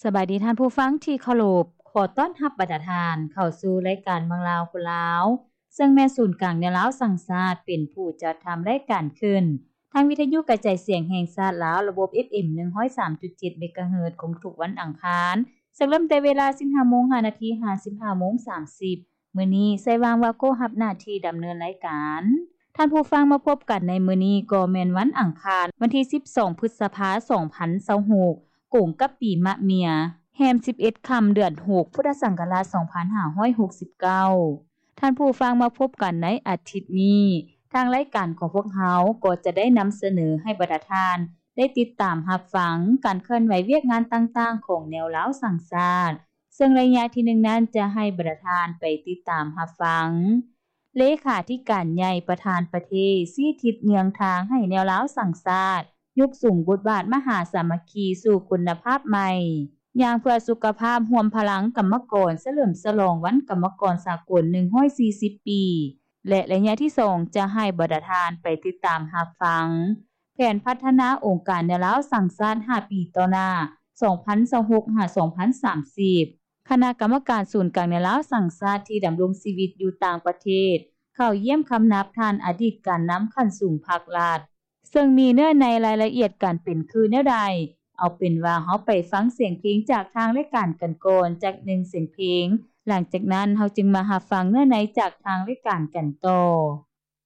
ສະບາຍດີທ່ານຜູ້ຟັງທີ່ເຄົາລົບ, ຂໍຕ້ອນຮັບບັນດາທ່ານເຂົ້າສູ່ລາຍການເມືອງລາວຄົນລາວ, ເຊິ່ງແມ່ນສູນກາງແນວລາວສ້າງຊາດເປັນຜູ້ຈັດທຳລາຍການຂຶ້ນ. ທາງວິທະຍຸກະຈາຍສຽງແຫ່ງຊາດລາວ ລະບົບ ເອຟເອັມ ໜຶ່ງຮ້ອຍສາມຈຸດເຈັດ ເມກາເຮີດ ຄົງທຸກວັນອັງຄານ, ເຊິ່ງເລີ່ມແຕ່ເວລາ ສິບຫ້າໂມງ ຫ້ານາທີ ຫາ ສິບຫ້າໂມງ ສາມສິບ. ມື້ນີ້ ໄຊຫວ່າງ ວາໂກ ຮັບໜ້າທີ່ດຳເນີນລາຍການ. ທ່ານຜູ້ຟັງ ມາພົບກັນໃນມື້ນີ້ກໍແມ່ນວັນອັງຄານ ວັນທີສິບສອງ ພຶດສະພາ ສອງພັນຊາວຫົກ ກົງກັບປີມະເມຍ, ແຮມສິບເອັດຄ່ຳ ເດືອນຫົກ ພຸດທະສັງກະລາດ ສອງພັນຫ້າຮ້ອຍຫົກສິບເກົ້າ. ທ່ານຜູ້ຟັງ ມາພົບກັນໃນອາທິດນີ້, ທາງລາຍການຂອງພວກເຮົາກໍຈະໄດ້ນຳສະເໜີໃຫ້ບັນດາທ່ານໄດ້ຕິດຕາມຮັບຟັງການເຄື່ອນໄຫວວຽກງານຕ່າງໆຂອງແນວລາວສ້າງຊາດ, ເຊິ່ງໄລຍະທີໜຶ່ງນັ້ນຈະໃຫ້ບັນດາທ່ານໄປຕິດຕາມຮັບຟັງ ເລຂາທິການໃຫຍ່ປະທານປະເທດຊີ້ທິດເຍືອງທາງໃຫ້ແນວລາວສ້າງຊາດ ຍົກສູງບົດບາດມະຫາສາມັກຄີສູ່ຄຸນນະພາບໃໝ່ ຍ່າງເພື່ອສຸຂະພາບ ຮວມພະລັງກຳມະກອນ ສະເຫຼີມສະຫຼອງວັນກຳມະກອນສາກົນ ໜຶ່ງຮ້ອຍສີ່ສິບປີ ແລະ ໄລຍະທີສອງ ຈະໃຫ້ບັນດາທ່ານໄປຕິດຕາມຮັບຟັງ ແຜນພັດທະນາອົງການແນວລາວສ້າງຊາດ ຫ້າປີຕໍ່ໜ້າ ສອງພັນຊາວຫົກ ຫາ ສອງພັນສາມສິບ. ຄະນະກຳມະການສູນກາງແນວລາວສ້າງຊາດທີ່ດຳລົງຊີວິດຢູ່ຕ່າງປະເທດ ເຂົ້າຢ້ຽມຄຳນັບທ່ານອະດີດການນຳຂັ້ນສູງພັກລັດ, ເຊິ່ງມີເນື້ອໃນລາຍລະອຽດການເປັນຄືແນວໃດ, ເອົາເປັນວ່າເຮົາໄປຟັງສຽງເພງຈາກທາງລາຍການກັນກ່ອນ ຈັກໜຶ່ງສຽງເພງ, ຫຼັງຈາກນັ້ນເຮົາຈຶ່ງມາຮັບຟັງເນື້ອໃນຈາກທາງລາຍການກັນຕໍ່.